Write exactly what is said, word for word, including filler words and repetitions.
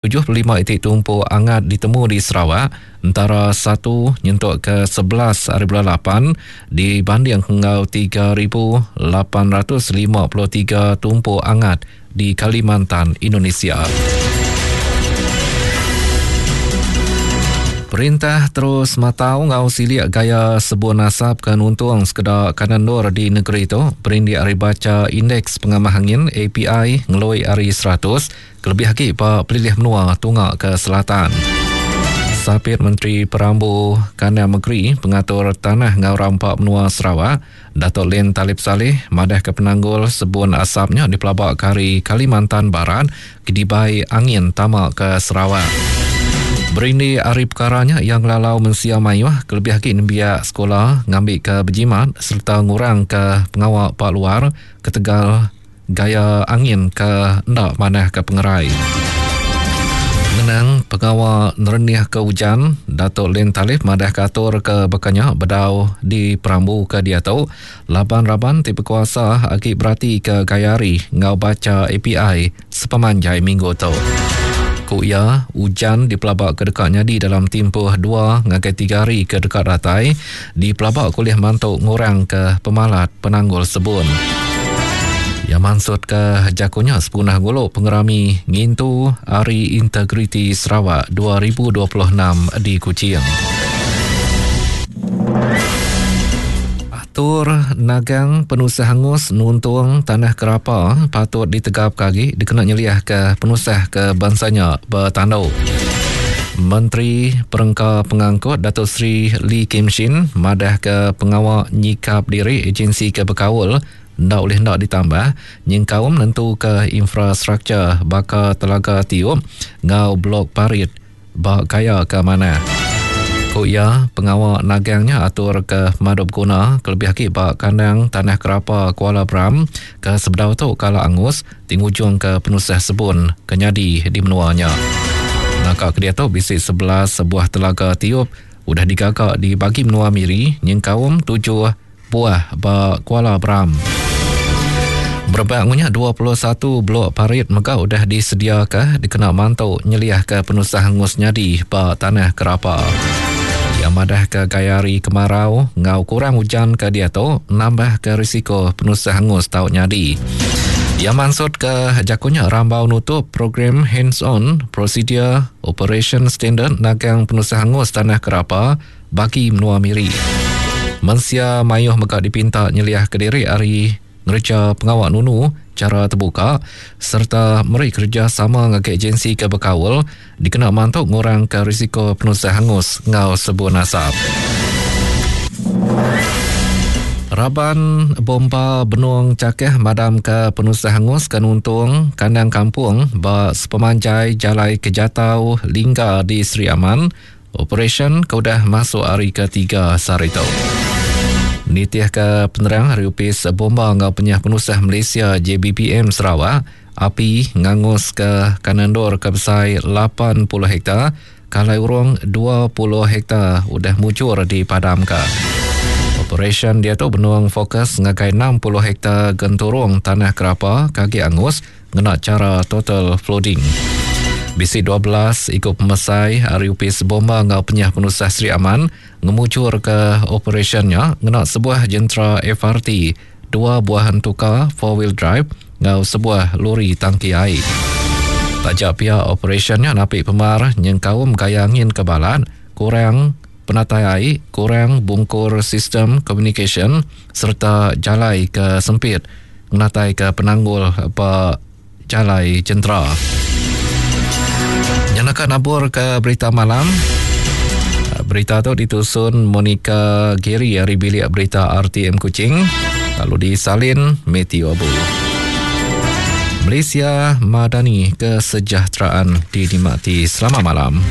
tujuh puluh lima iti tumpu angat ditemu di Sarawak antara satu nyentuk ke sebelas hari bulan lapan dibanding enggau tiga ribu lapan ratus lima puluh tiga tumpu angat di Kalimantan, Indonesia. Perintah terus matau ngau silik gaya sebun asap ke nuntung sekeda kanan nur di negeri tu berindik ari baca indeks pengamah angin A P I ngelui ari seratus kelebih lagi ba pelilih menua tunga ke selatan. Sapit Menteri Perambu Kandang Negeri Pengatur Tanah Ngau Rampa Menua Sarawak, Datuk Len Talib Saleh madah ke penanggul sebun asapnya dipelabak ke hari Kalimantan Barat kedibai angin tama ke Sarawak. Berindi hari perkaranya yang lalau mensia mayuh kelebih lagi nembiak sekolah ngambil ke berjimat serta ngurang ke pengawal pak luar ketegal gaya angin ke ndak manah ke pengerai. Menang pengawal nerenih ke hujan, Datuk Len Talif madah katur ke bekanya bedau di perambu ke dia tu laban-raban ti berkuasa agi berarti ke gayari ngau baca A P I sepemanjai minggu tu. Ku ia, hujan dipelabak ke dekatnya di dalam tempoh dua ngagai tiga hari ke dekat ratai dipelabak kuliah mantuk ngurang ke pemalat penanggul sebun. Yang maksud ke jakunya sepunah guluk pengerami ngintu Hari Integriti Sarawak dua ribu dua puluh enam di Kuching. Atur nagang penusah hangus nuntung tanah kerapa patut ditegap kagi dikena nyeliah ke penusah ke bangsanya bertanduk. Menteri Perengka Pengangkut Datuk Seri Lee Kim Shin madah ke pengawal nyikap diri agensi ke berkaul ndak boleh ndak ditambah nyengkaum nentu ke infrastruktur baka telaga tiup ngau blok parit bak kaya ke mana. Ku ia pengawal nagangnya atur ke madub guna kelebih lagi bak kandang tanah kerapa Kuala Bram ke sebedau tu kala angus tingujung ke penusah sebun kenyadi di menuanya. Naka ke dia tu bisi sebelas sebuah telaga tiup udah digagak di bagi menua Miri nyengkaum tujuh buah bak Kuala Bram. Berebak ngunya dua puluh satu blok parit mega udah disediakan dikena mantu nyeliah ke penusah hangus nyadi ba tanah kerapa. Yang madah ke gayari kemarau ngau kurang hujan ke dia tu nambah ke risiko penusah hangus tau nyadi. Yang maksud ke jakunya rambau nutup program hands on procedure operation standard nagang penusah hangus tanah kerapa bagi menua Miri. Mensia mayuh mega dipinta nyeliah ke diri hari ngerja pengawal nunu cara terbuka serta meri kerja sama dengan agensi ke berkawal dikena mantuk ngurang ke risiko penusah hangus ngau sebun asap. Raban bomba benung cakeh madam ke penusah hangus ke nuntung kandang kampung ba sepemanjai Jalai Kejatau Lingga di Sri Aman. Operation ke udah masuk hari ketiga sehari tu. Nitih ke penerang hari upis bomba ngau penyah penusah Malaysia J B P M Sarawak, api ngangus ke kanandor ke besai lapan puluh hektar, kalai urung dua puluh hektar udah mujur dipadamkan. Operation dia tu benung fokus ngagai enam puluh hektar genturung tanah kerapa kaki angus ngena cara total flooding. Bisi dua belas ikut pemesai hari upis bomba ngau penyah penusah Sri Aman ngemucur ke operationnya ngena sebuah jentera F R T, dua buah hentuka four wheel drive ngau sebuah lori tangki air. Tajak pihak operationnya napik pemar nyengkaum gaya angin ke balat, kurang penatai air, kurang bungkur sistem communication serta jalai ke sempit menatai ke penanggul apa jalai jentera. Nyanakan nabur ke berita malam. Berita tu ditusun Monica Gary dari bilik berita R T M Kuching, lalu disalin Matthew Abu. Malaysia Madani, kesejahteraan dinikmati. Selamat malam.